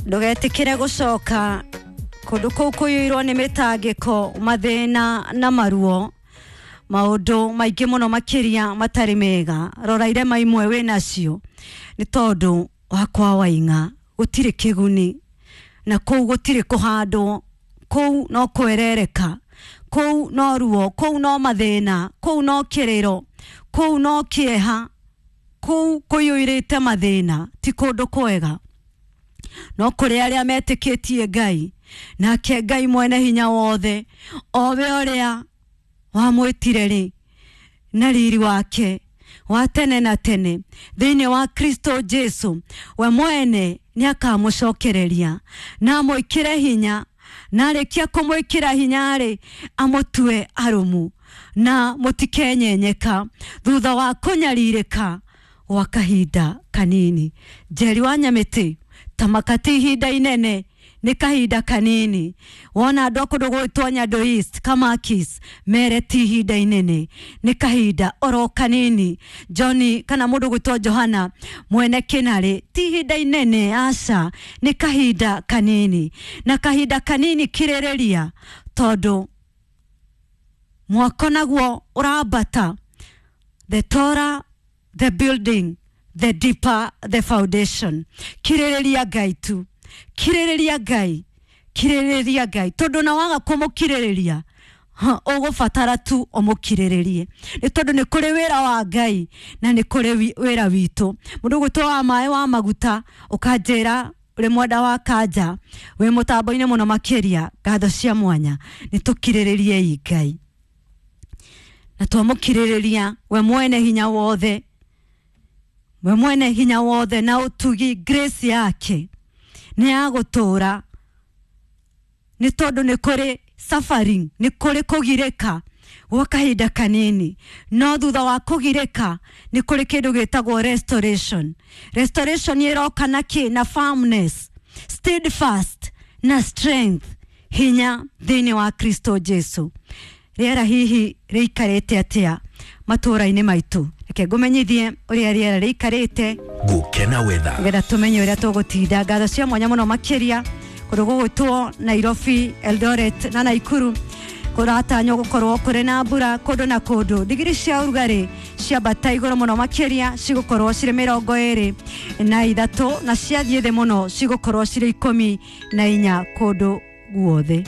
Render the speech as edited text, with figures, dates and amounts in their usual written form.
Ndũgetĩkĩre gũcoka kũndũ kũu kũiyũirwo nĩ mĩtangĩko, mathĩna na maruo, maũndũ maingĩ mũno makĩria matarĩ mega. Rora irema imwe wĩ nacio nĩ tondũ wa kwa Waing'a gũtirĩ kĩguni, na kũu gũtirĩ kũhandwo, kũu no kwerereka, kũu no ruo, kũu no mathĩna, kũu no kĩrĩro, kũu no kĩeha, kũu kũiyũirĩte mathĩna, ti kũndũ kwega. No kũrĩ arĩa metĩkĩtie Ngai, nake Ngai mwene hinya wothe, o we ũrĩa wamwĩtire rĩ na riri wake wa tene na tene thĩinĩ wa Kristo Jesu, we mwene nĩ akamũcokereria na amwĩkĩre hinya, na arĩkia kũmwĩkĩra hinya rĩ, amũtue arũmu na mũtikenyenyeka thutha wa kũnyarirĩka gwa kahinda kanini. Njeri wa Nyamĩtĩ, tamaka ti ihinda inene, nĩ kahinda kanini. Wona andũ a kũndũ gwĩtwo Nyando East, Kamakis, mere ti ihinda inene, nĩ kahinda oro kanini. Johnny kana mũndũ gwĩtwo Johana mwene Kĩnarĩ, ti ihinda inene, aca, nĩ kahinda kanini. Na kahinda kanini kirĩrĩria, tondũ mwako naguo ũrambata. The taller the building, the deeper the foundation. Kirĩrĩria Ngai tu, kirĩrĩria Ngai, kirĩrĩria Ngai, tondũ na waga kũmũkirĩrĩria, ũgũbatara tu ũmũkirĩrĩrie, nĩ tondũ nĩ kũrĩ wĩra wa Ngai na nĩ kũrĩ wĩra witũ. Mũndũ ũgwĩtwo wa maĩ wa maguta, ũkanjĩra ũrĩ mwenda wa kanja, wĩ mũtambo-inĩ mũno makĩria, ngatho cia mwanya. Nĩ tũkirĩrĩriei Ngai, na twamũkirĩrĩria we mwene hinya wothe, we mwene hinya wothe na ũtugi, grace yake nĩ ya gũtũũra, nĩ tondũ nĩ kũrĩ suffering, nĩ kũrĩ kũgirĩka gwa kahinda kanini, no thutha wa kũgirĩka nĩ kũrĩ kĩndũ gĩtagwo restoration. Restoration ĩroka na kĩ? Na firmness, steadfast na strength, hinya thĩinĩ wa Kristo Jesu. Rĩera hihi rĩikarĩte atĩa matũũra-inĩ maitũ? Reke ngũmenyithie ũrĩa rĩera rĩikarĩte Gukena weather. nĩgetha tũmenye ũrĩa tũgũtinda. Ngatho cia mwanya mũno makĩria kũndũ gũgwĩtwo Nairobi, Eldoret na Naikuru kũratanywo gũkorwo kũrĩ na mbura kũndũ na kũndũ. Digiri cia ũrugarĩ ciambata igũrũ mũno makĩria cigũkorwo cirĩ 23, na ciathiĩ thĩ mũno cigũkorwo cirĩ 14 kũndũ guothe.